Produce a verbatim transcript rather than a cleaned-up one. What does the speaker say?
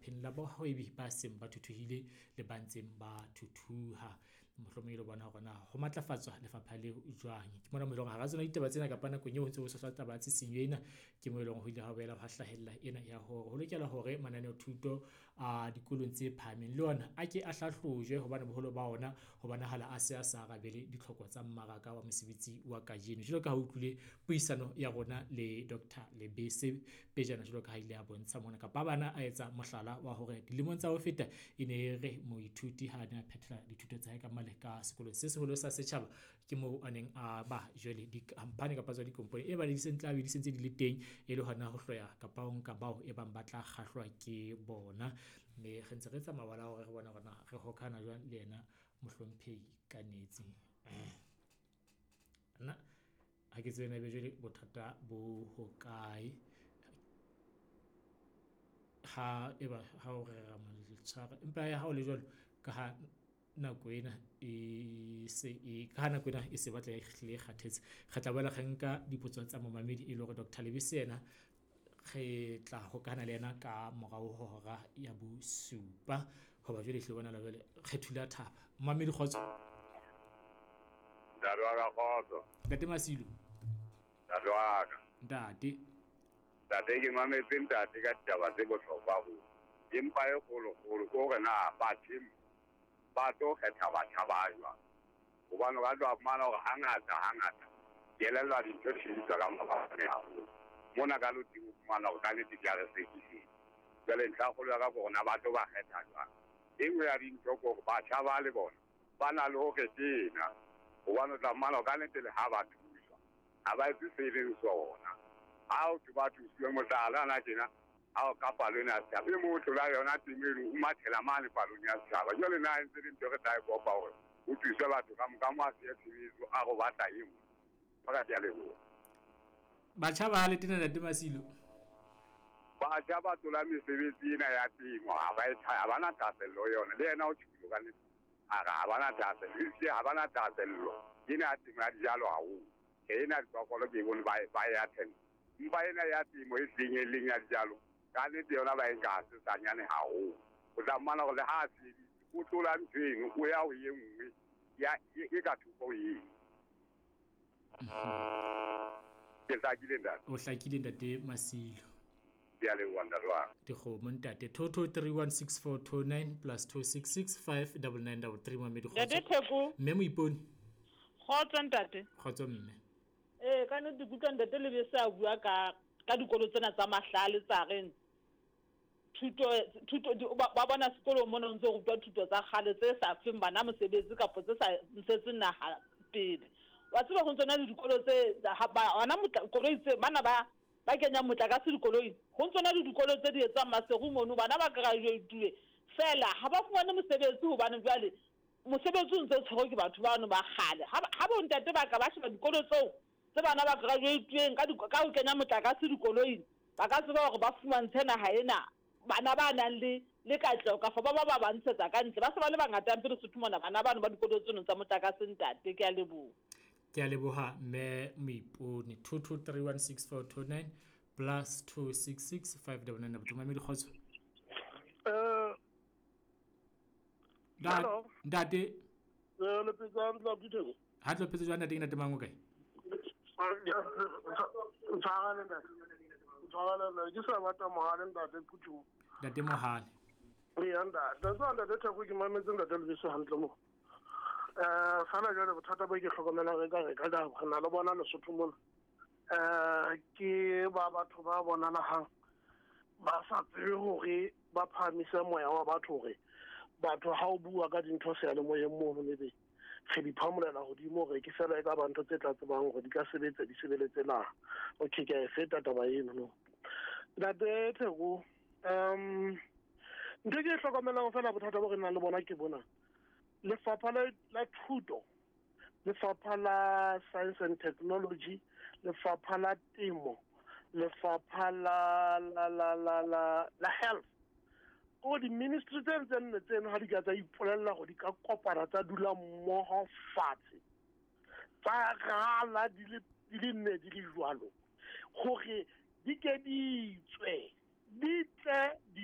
lefapheng la bahwebi ba seng ba thuthuhile le ba ntseng ba thuthuha. Mohlomong e le bona hore na ho matlafatswa lefapha leo jwang. Ke mona mo e leng hore hara tsona ditaba tsena kapa nakong eo ho ntse ho tshohlwa taba ya tshisinyo ena, ke mo e leng ho ile ha boela hwa hlahella ena ya hore ho lokela hore mananeo thuto a dikolong tse phahameng le ona a ke a hlahlojwe hobane boholo ba ona ho bonahala a se a sa arabele ditlhoko tsa mmaraka wa mosebetsi wa kajeno. Jwalo ka ha o utlwile puisano ya rona le Doctor Lebese pejana, jwalo ka ha ile a bontsha mona kapa bana a etsa mohlala wa hore dilemong tsa ho feta e ne e re moithuti ha a ne a phethela dithuto tsa hae ka mane ka sekolong se seholo sa setjhaba, ke moo a neng a ba jwale dikhampani kapa tsona dikompone e ba di tla be di sentse di le teng e le hona ho hloya kapa ho nka bao e bang ba tla kgahlwa ke bona. Mme re ntse re etsa mabala a hore re bone hore na re hokahana jwang le yena mohlomphehi Kanetsi. Nna ha ke tsebe na ebe jwale bothata bo hokae ha eba ha o rera mo tshwara, empa ha o le jwalo ka ha nako ena e se e ka ha nako ena e se batla e hlile e kgathetse, re tla boela re nka dipotso tsa momamedi e le hore Doctor Lebese yena re tla hokahana le yena ka morao ho hora ya bosupa. Hoba jwale ehlile bonahala jwale re thula thaba. Momamedi, kgotso. Ntate wa ka, kgotso. Ntate Masilo. Ntate wa ka. Ntate. Ntate, ke mametse ntate ka ditaba tse bohlokwa haholo. Empa e kgolokgolo ke hore na batho ba tlo kgetha batjha ba jwang. Hobane o ka tloha fumana hore hangata hangata ke elellwa dintho di sebediswa ka mabaka haholo. Mona ka loteng o fumana hore ka nnete di a re sekisetsa. Jwale ntlha e kgolo ya ka ke hore na ba tlo ba kgetha jwang. E nngwe ya dintho ke hore batjha ba le bona ba na le hore tena. Hobane o tla fumana hore ka nnete le ha ba thuswa, ha ba etse se e leng sona. Ha o thwe ba thusiwe, mohlala hana tjena, ha o ka palo ena ya setjhaba, e mong o tlola yona temo eno, o mathela mane palong ya setjhaba. Jwale na e ntse le ntho e re tla e kopa hore ho thuswe batho ka moka, mo a siya tshebetso, a re o batla e nngwe. Ba ka leboha. Batjha ba le tena, Ntate Masilo. Batjha ba tlola mesebetsi ena ya temo, ha ba e ha ba na thahasello ho yona. Le yena o tjholo ka nnete, a re ha ba na thahasello, ehlile ha ba na thahasello ena ya temo ya dijalo haholo. Tjhe, ena ya diphoofolo ke e bone ba e ba e attend. Empa ena ya temo e hlileng e leng ya dijalo, ka nnete yona ba e nka ha sesanyane haholo. O tla fumana hore le ha a sebeditse, o tlola ntho eno, o ya ho e nngwe ya e ka thoko ho eno. Ke hlakile ntate. O hlakile Ntate Masilo. Ke a leboha ntate wa ka. Dikgomo ntate. Two two three one six four two nine plus two six six five double nine double three. Mamedi, kgotso. Ntate Theko. Mme Moipone. Kgotso ntate. Kgotso mme. Eh, ka nnete ke utlwa ntate Lebese a bua ka ka dikolo tsena tsa mahlale tsa reng thuto thuto di, ba, ba bona sekolong mona ho ntse ho rutwa thuto tsa kgale tse sa feng bana mosebetsi kapa tse sa ntshetseng naha pele. Wa tseba ho ntso na le dikolo tse ha ba hona motla koloi tse bana ba ba kenyang motlakase dikoloing, ho ntso na le dikolo tse di etsang Maseru mono, bana ba graduate fela ha ba fumane mosebetsi hobane jwale mosebetsi o ntse o tshwerwe ke batho bano ba kgale. Ha ba, ha bontate ba ka ba sheba dikolo tseo tse bana ba graduate-ileng ka ka ho kenya motlakase dikoloing, ba ka tseba hore ba fumantshe naha ena bana ba nang le le katleho kafa ba ba ba ba ntshetsa ka ntle. Ba se ba le bangata hampe Lesotho mona bana bano ba dikolo tseno tsa motlakase ntate. Ke a leboha. Ke a leboha mme Moipone. Two two three one six four two nine plus two six six five double nine double two. Mamedi, kgotso. Eh, Ntate, ntate. Eh, le phetse hantle, abuti Theko? Ha tlo phetse jwang ntate, ke ntate mang o kae? Ntshwarele ntate. Ntshwarele ntate. Ke sa batla Mohale ntate Phuthong. Ntate Mohale. Eya ntate. Ntate ntate Theko ke mametse ntate Lebese hantle mo. Eh, fela jwale bothata bo ke hlokomelang re ka re ka re na le bona Lesotho mona. Eh, ke ba batho ba bonalahang ba sa tsebe hore ba phahamise moya wa batho hore batho ha o bua ka dintho seyalemoyeng mono ebe re di phamolela hodimo hore ke fela e ka ba ntho tse tla tsebang hore di ka sebetsa di sebeletse na. Okay, ke a e feta taba eno no. Ntate Theko, um ntho e ke e hlokomelang fela bothata bo re nang le bona ke bona. Lefapha la, la thuto, lefapha la science and technology, lefapha la temo, lefapha la, la, la, la, la, la health. Ko di-ministry tse tse nne tseno ha di ka tsa ipolella hore di ka kopana tsa dula mmoho fatshe, tsa rala di le, di le nne di le jwalo, hore di ke di tswe, di tle di